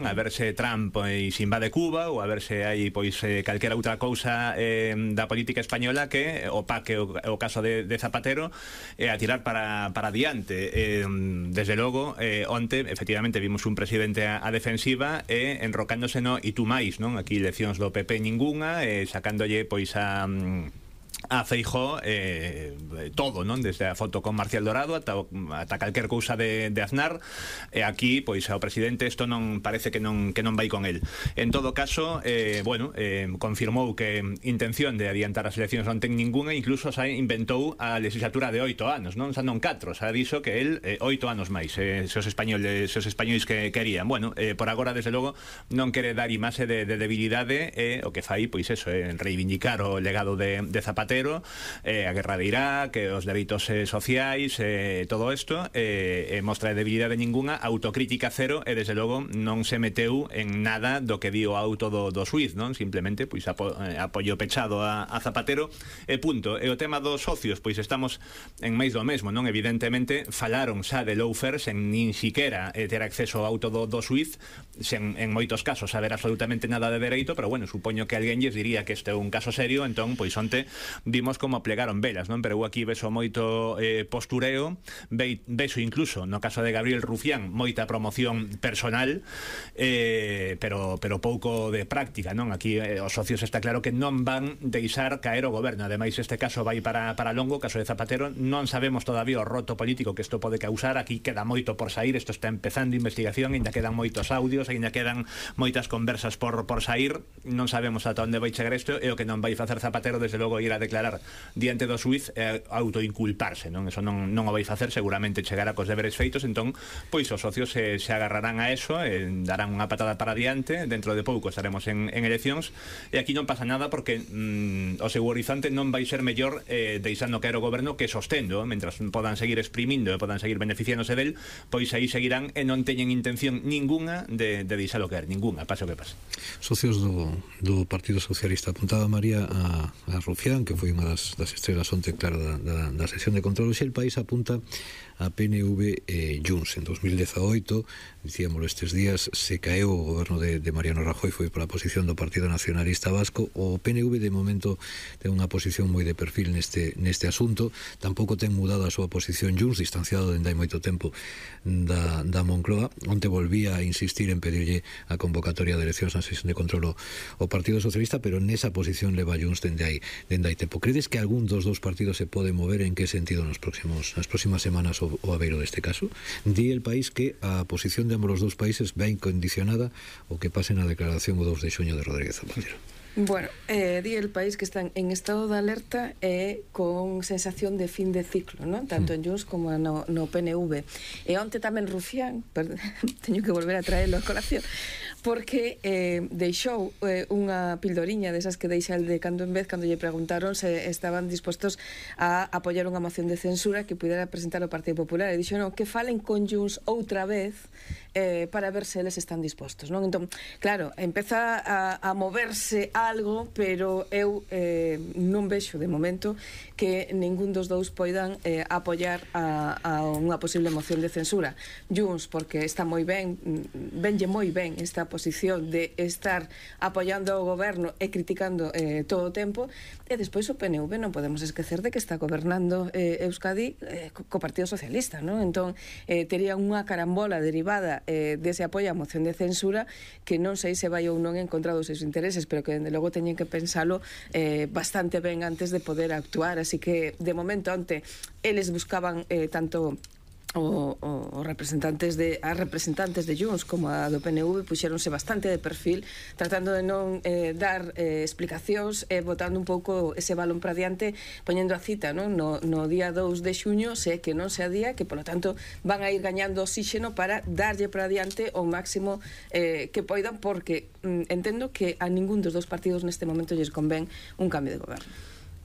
a ver se Trump pois invade Cuba ou a ver se hai pois calquera outra cousa da política española que opaque o caso de Zapatero a tirar para adiante. Desde logo, onte efectivamente vimos un presidente a defensiva enrocándose no e tú máis, non? Aquí leccións do PP ningunha, sacándolle pois a Feijóo todo, non? Desde a foto con Marcial Dorado ata calquer cousa de Aznar, aquí, pois, ao presidente isto non parece que non vai con el. En todo caso, confirmou que intención de adiantar as eleccións non ten ningunha, incluso xa inventou a legislatura de 8 anos, non? Xa non 4, xa dixo que el 8 anos máis, se os españois que querían. Bueno, por agora, desde logo, non quere dar imaxe de debilidade, o que fai, pois eso, reivindicar o legado de Zapatero, a guerra de Irak, os dereitos sociais, todo isto, mostra de debilidade ningunha, autocrítica cero, e desde logo non se meteu en nada do que di o auto do xuiz, non? Simplemente pois apoio pechado a Zapatero e punto. E o tema dos socios, pois estamos en máis do mesmo, non? Evidentemente falaron xa de lawfare sen nin siquera ter acceso ao auto do xuiz, sen en moitos casos saber absolutamente nada de dereito, pero bueno, supoño que alguén lles diría que este é un caso serio, entón pois onte vimos como plegaron velas, non? Pero eu aquí vexo moito postureo, vexo incluso, no caso de Gabriel Rufián, moita promoción personal, pero pouco de práctica, non? Aquí os socios está claro que non van deixar caer o goberno. Ademais, este caso vai para longo, o caso de Zapatero, non sabemos todavía o roto político que isto pode causar. Aquí queda moito por sair, isto está empezando investigación, ainda quedan moitos audios, ainda quedan moitas conversas por sair, non sabemos ata onde vai chegar isto, e o que non vai facer Zapatero, desde logo, ir a declarar diante do xuiz autoinculparse, non? Eso non o vai facer, seguramente chegará cos deberes feitos, entón, pois os socios se agarrarán a eso, darán unha patada para adiante, dentro de pouco estaremos en eleccións, e aquí non pasa nada porque o seu horizonte non vai ser mellor deixando caer o goberno que sostendo, mentras podan seguir exprimindo e podan seguir beneficiándose del, pois aí seguirán e non teñen intención ningunha de deixalo caer, ningunha, pase o que pase. Socios do Partido Socialista, apuntaba María a Rufián, que foi unha das estrelas onte, claro, da sesión de control. Hoxe El País apunta a PNV Junts. En 2018, dicíamoslo estes días, se caeu o goberno de Mariano Rajoy, foi pola posición do Partido Nacionalista Vasco. O PNV de momento ten unha posición moi de perfil neste asunto, tampouco ten mudado a súa posición Junts, distanciado dende hai moito tempo da Moncloa. Onte volvía a insistir en pedirlle a convocatoria de eleccións na sesión de control o Partido Socialista, pero nesa posición leva Junts dende hai tempo. Credes que algún dos dous partidos se pode mover? En que sentido nas próximas semanas o aveiro deste caso? Di El País que a posición de ambos os dous países vai condicionada o que pase na declaración o 2 de xuño de Rodríguez Zapatero. Bueno, di El País que están en estado de alerta e con sensación de fin de ciclo, ¿no? Tanto en Junts como no PNV. E onte tamén Rufián, teño que volver a traerlo a colación, porque deixou unha pildoriña desas que deixa el de cando en vez cando lle preguntaron se estaban dispostos a apoiar unha moción de censura que pudera presentar o Partido Popular, e dixo, non, que falen con Junts outra vez para ver se eles están dispostos, non? Entón, claro, empeza a moverse algo, pero eu non vexo de momento que ningún dos dous poidan apoiar a unha posible moción de censura. Junts, porque está moi ben, venlle moi ben esta posición de estar apoiando o goberno e criticando todo o tempo, e despois o PNV non podemos esquecer de que está gobernando Euskadi co Partido Socialista, non? Entón, tería unha carambola derivada dese apoio á moción de censura que non sei se vai ou non en contra dos seus intereses, pero que dende logo teñen que pensalo bastante ben antes de poder actuar. Así que de momento onte eles buscaban tanto os representantes de Junts como a do PNV puxéronse bastante de perfil, tratando de non dar explicacións e botando un pouco ese balón para diante, poñendo a cita, non? No día 2 de xuño, se que non se adía, que polo tanto van a ir gañando oxígeno para darlle para diante o máximo que poidan, porque entendo que a ningún dos dous partidos neste momento lles convén un cambio de goberno.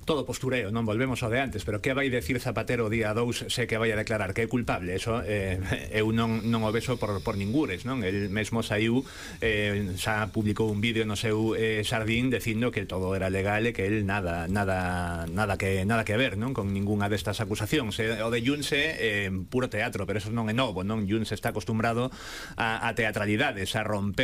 Todo postureo, non volvemos ao de antes, pero que vai decir Zapatero o día 2 se que vai a declarar que é culpable? Eso eu non o vexo por ningures, non? El mesmo saiu, xa publicou un vídeo no seu xardín dicindo que todo era legal e que el nada que ver, non? Con ningunha destas acusacións. O de Junts é puro teatro, pero eso non é novo, non? Junts está acostumbrado a teatralidades, a rompeu